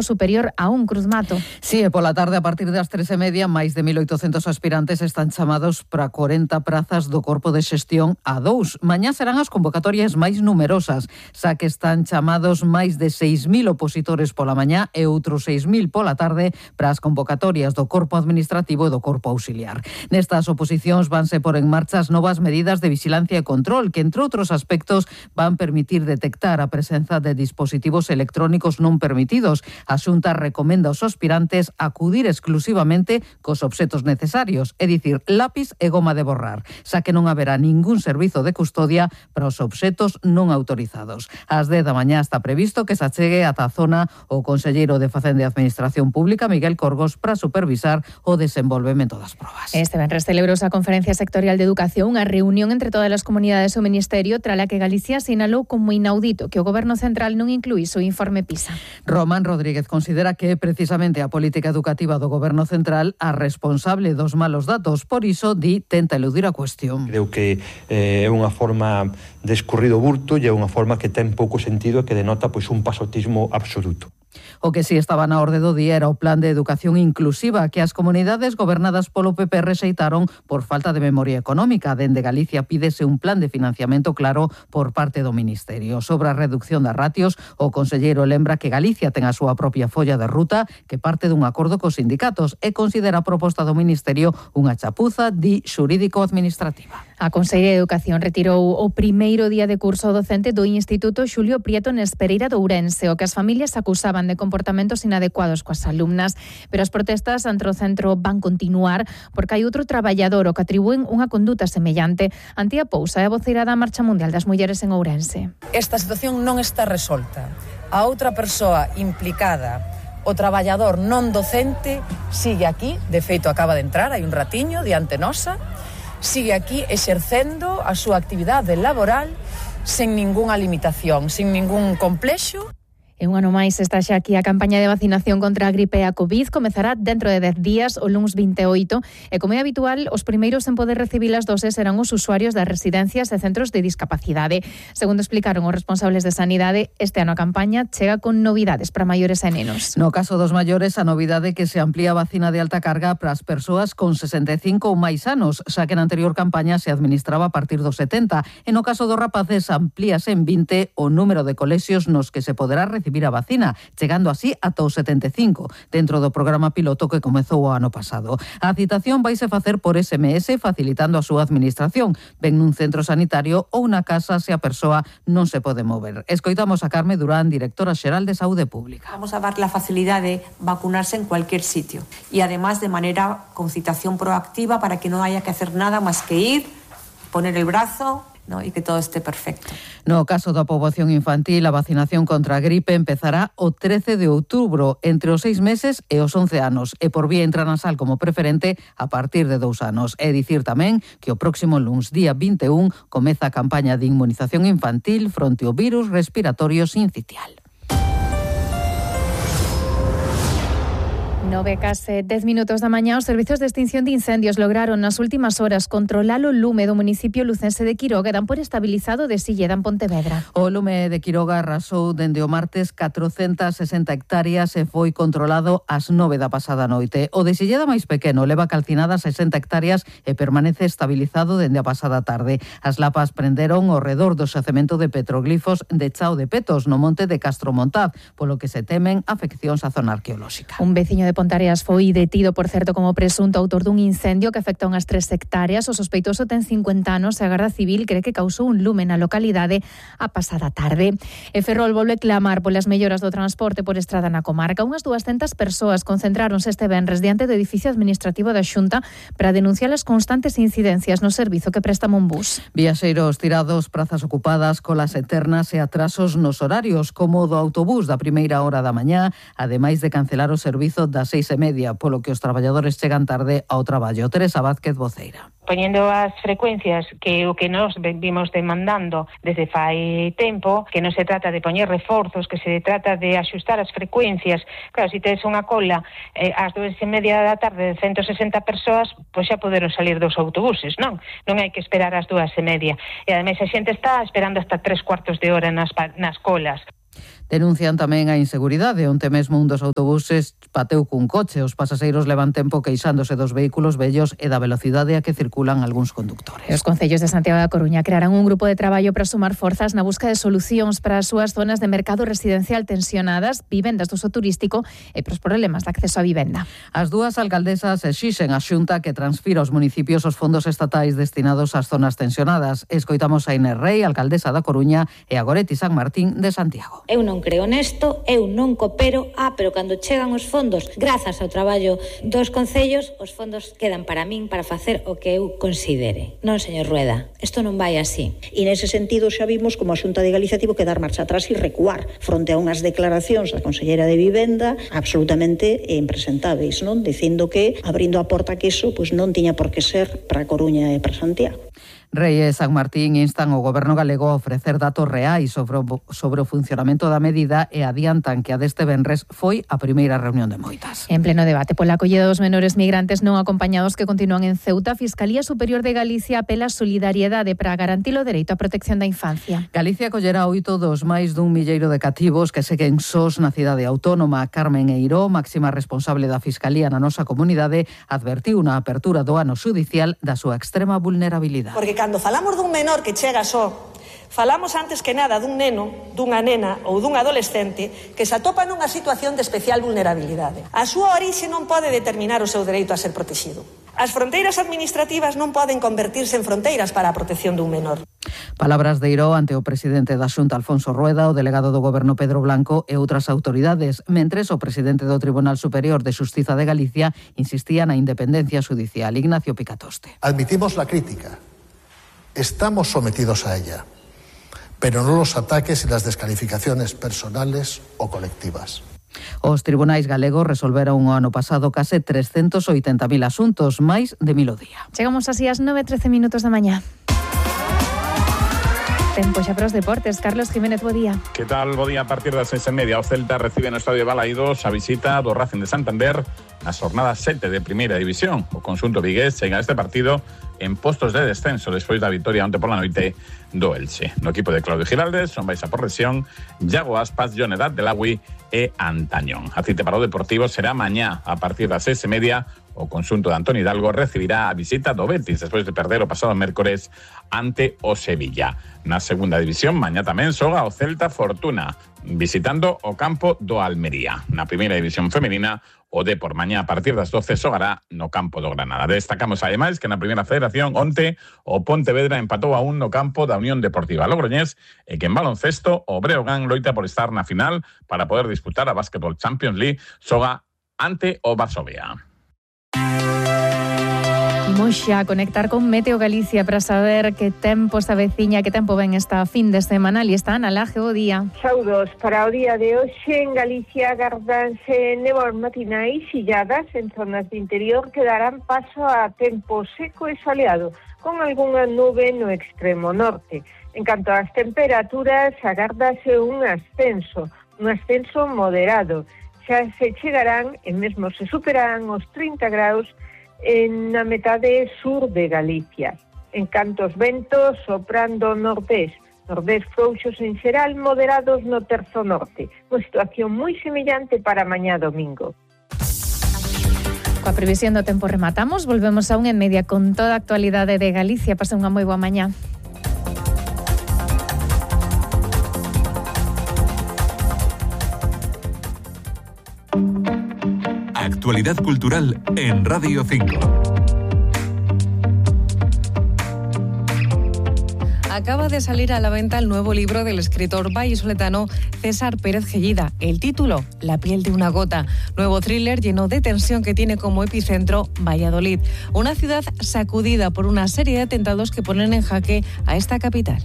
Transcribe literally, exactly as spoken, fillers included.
superior a un cruzmato. Sí, e pola tarde, a partir das tres e media, máis de mil oitocentos aspirantes están chamados para corenta prazas do Corpo de Xestión A dous. Mañá serán as convocatorias máis numerosas, xa que están chamados máis de seis mil opositores pola mañá e outros seis mil pola tarde para as convocatorias do Corpo Administrativo e do Corpo Auxiliar. Nestas oposicións vanse por en marcha as novas medidas de vixilancia e control que, entre outros aspectos, van permitir detectar a presenza de dispositivos electrónicos non permitidos. A Xunta recomenda aos aspirantes acudir exclusivamente cos obxetos necesarios, é dicir, lápiz e goma de borrar, xa que non haberá ningún servizo de custodia para os obxetos non autorizados. Ás dez da mañá está previsto que se achegue ata a zona o conselleiro de Facenda e Administración Pública, Miguel Corgos, para supervisar o desenvolvemento das probas. Este venres celebrouse a Conferencia Sectorial de Educación, unha reunión entre todas as comunidades do Ministerio, trala que Galicia sinalou como inaudito que o Goberno Central non incluís o informe PISA. Román Rodríguez considera que é precisamente a política educativa do Goberno Central a responsable dos malos datos. Por iso, di, tenta eludir a cuestión. Creo que eh, é unha forma de escurrido burto e é unha forma que ten pouco sentido e que denota pois un pasotismo absoluto. O que si estaba na orde do día era o Plan de Educación Inclusiva que as comunidades gobernadas polo P P rexeitaron por falta de memoria económica. Dende Galicia pídese un plan de financiamento claro por parte do Ministerio. Sobre a reducción das ratios, o conselleiro lembra que Galicia ten a súa propia folla de ruta que parte dun acordo cos sindicatos e considera a proposta do Ministerio unha chapuza, di, xurídico-administrativa. A Conselleira de Educación retirou o primeiro día de curso docente do Instituto Xulio Prieto Nespereira de Ourense, o que as familias acusaban de comportamentos inadecuados coas alumnas, pero as protestas ante o centro van continuar porque hai outro traballador o que atribúen unha conduta semellante. Antía Pousa é a voceira da Marcha Mundial das Mulleres en Ourense. Esta situación non está resolta. A outra persoa implicada, o traballador non docente, sigue aquí, de feito acaba de entrar, hai un ratiño diante nosa, sigue aquí exercendo a súa actividade laboral sen ningunha limitación, sen ningún complexo. E un ano máis está xa aquí a campaña de vacinación contra a gripe e a COVID. Comezará dentro de dez días, o luns vinte e oito, e como é habitual, os primeiros en poder recibir as doses serán os usuarios das residencias e centros de discapacidade. Segundo explicaron os responsables de Sanidade, este ano a campaña chega con novidades para maiores e nenos. No caso dos maiores, a novidade é que se amplía a vacina de alta carga para as persoas con sesenta e cinco ou máis anos, xa que na anterior campaña se administraba a partir dos setenta. E no caso dos rapaces, amplíase en vinte o número de colexios nos que se poderá recibir recibir a vacina, chegando así ata os setenta e cinco, dentro do programa piloto que comezou o ano pasado. A citación vaise facer por ese eme ese, facilitando a súa administración, ben nun centro sanitario ou na casa se a persoa non se pode mover. Escoitamos a Carme Durán, directora xeral de Saúde Pública. Vamos a dar la facilidad de vacunarse en cualquier sitio y además de manera con citación proactiva para que no haya que hacer nada más que ir, poner el brazo, ¿no? Y que todo esté perfecto. No caso da poboación infantil, a vacinación contra a gripe empezará o trece de outubro, entre os seis meses e os once anos, e por vía intranasal como preferente a partir de dous anos. É dicir tamén que o próximo luns, día vinte e un, comeza a campaña de inmunización infantil fronte ao virus respiratorio sincitial. Nove case dez minutos da mañá, os servizos de extinción de incendios lograron nas últimas horas controlar o lume do municipio lucense de Quiroga e dan por estabilizado de Silleda en Pontevedra. O lume de Quiroga arrasou dende o martes catrocentas sesenta hectáreas e foi controlado ás nove da pasada noite. O de Silleda máis pequeno leva calcinadas sesenta hectáreas e permanece estabilizado dende a pasada tarde. As lapas prenderon ao redor do xacemento de petroglifos de Chao de Petos, no monte de Castromontaz, polo que se temen afeccións á zona arqueolóxica. Un veciño de Pontareas foi detido, por certo, como presunto autor dun incendio que afectou unhas tres hectáreas. O sospeitoso ten cincuenta anos e a Garda Civil cree que causou un lume na localidade a pasada tarde. E Ferrol volve clamar polas melloras do transporte por estrada na comarca. Unhas duascentas persoas concentráronse este venres diante do edificio administrativo da Xunta para denunciar as constantes incidencias no servizo que presta Monbús. Viaxeiros tirados, prazas ocupadas, colas eternas e atrasos nos horarios, como o do autobús da primeira hora da mañá, ademais de cancelar o servizo das seis e media, polo que os traballadores chegan tarde ao traballo. Teresa Vázquez, voceira. Poñendo as frecuencias que o que nos vimos demandando desde fai tempo, que non se trata de poñer reforzos, que se trata de axustar as frecuencias. Claro, se tes unha cola eh, ás dúas e media da tarde de ciento sesenta persoas, pois xa poderon salir dos autobuses, non? Non hai que esperar ás dúas e media. E ademais a xente está esperando hasta tres cuartos de hora nas, nas colas. Denuncian tamén a inseguridade. Onte mesmo un dos autobuses pateu cun coche. Os pasaxeiros levan tempo queixándose dos vehículos vellos e da velocidade a que circulan algúns conductores. Os concellos de Santiago da Coruña crearán un grupo de traballo para sumar forzas na busca de solucións para as súas zonas de mercado residencial tensionadas, vivendas do uso turístico e pros problemas de acceso á vivenda. As dúas alcaldesas exixen a Xunta que transfira aos municipios os fondos estatais destinados ás zonas tensionadas. Escoitamos a Inés Rei, alcaldesa da Coruña, e a Goretti San Martín de Santiago. Eu non creo nesto, eu non coopero, ah, pero cando chegan os fondos, grazas ao traballo dos concellos, os fondos quedan para min para facer o que eu considere. Non, señor Rueda, isto non vai así. E nese sentido xa vimos como a Xunta de Galicia tivo que dar marcha atrás e recuar fronte a unhas declaracións da Conselleira de Vivenda absolutamente impresentáveis, non? Dicindo que abrindo a porta que iso pois non tiña por que ser para a Coruña e para Santiago. Rei e San Martín instan o Goberno galego a ofrecer datos reais sobre o, sobre o funcionamento da medida e adiantan que a deste venres foi a primeira reunión de moitas. En pleno debate pola acollida dos menores migrantes non acompañados que continúan en Ceuta, a Fiscalía Superior de Galicia apela a solidariedade para garantir o dereito á protección da infancia. Galicia acollerá oito dos máis dun milleiro de cativos que seguen sós na cidade autónoma. Carmen Eiró, máxima responsable da Fiscalía na nosa comunidade, advertiu na apertura do ano xudicial da súa extrema vulnerabilidade. Porque cando falamos dun menor que chega só, falamos antes que nada dun neno, dunha nena ou dun adolescente que se atopa nunha situación de especial vulnerabilidade. A súa orixe non pode determinar o seu dereito a ser protegido. As fronteiras administrativas non poden convertirse en fronteiras para a protección dun menor. Palabras de Eiró ante o presidente da Xunta, Alfonso Rueda, o delegado do Goberno, Pedro Blanco, e outras autoridades, mentres o presidente do Tribunal Superior de Xustiza de Galicia insistía na independencia xudicial. Ignacio Picatoste. Admitimos la crítica. Estamos sometidos a ella, pero no los ataques y las descalificaciones personales o colectivas. Os tribunais galegos resolveron o ano pasado case trescentos oitenta mil asuntos, máis de mil o día. Chegamos así ás nove e trece minutos da mañá. Tempo xa para os deportes. Carlos Jiménez, bo día. Que tal? Bo día. A partir das seis e media, o Celta recibe no Estadio Balaídos a visita do Racing de Santander na xornada sete de Primeira División. O conxunto vigués chega a este partido en postos de descenso despois da vitoria onte pola noite do Elche. No equipo de Claudio Giraldes son baixa por lesión Iago Aspas, Jonedad Delagui e Antañón. A cita para o Deportivo será mañá a partir das seis e media. O conxunto de Antonio Hidalgo recibirá a visita do Betis despois de perder o pasado mércores ante o Sevilla. Na segunda división, mañá tamén xoga o Celta Fortuna, visitando o campo do Almería. Na primeira división femenina, o Depor mañá a partir das doce xogará no campo do Granada. Destacamos ademais que na primeira federación onte o Pontevedra empatou a un no campo da Unión Deportiva Logroñés e que en baloncesto o Breogán loita por estar na final para poder disputar a Basketball Champions League, xoga ante o Varsovia. Imos xa a conectar con Meteo Galicia para saber que tempo se aveciña, que tempo ven esta fin de semana. Ali está Ana Laje, o día. Saudos, para o día de hoxe en Galicia agardanse néboas matinais illadas en zonas de interior que darán paso a tempo seco e soleado, con algunha nube no extremo norte. En canto ás temperaturas, agárdase un ascenso, un ascenso moderado. Xa se chegarán e mesmo se superarán os trinta graus en na metade sur de Galicia. En canto aos ventos, soprando nordés, nordés frouxos en xeral, moderados no terzo norte. Unha situación moi semellante para mañá domingo. Coa previsión do tempo rematamos, volvemos a un en media con toda a actualidade de Galicia. Pasa unha moi boa mañá. Actualidad cultural en Radio cinco. Acaba de salir a la venta el nuevo libro del escritor vallisoletano César Pérez Gellida. El título, La piel de una gota. Nuevo thriller lleno de tensión que tiene como epicentro Valladolid. Una ciudad sacudida por una serie de atentados que ponen en jaque a esta capital.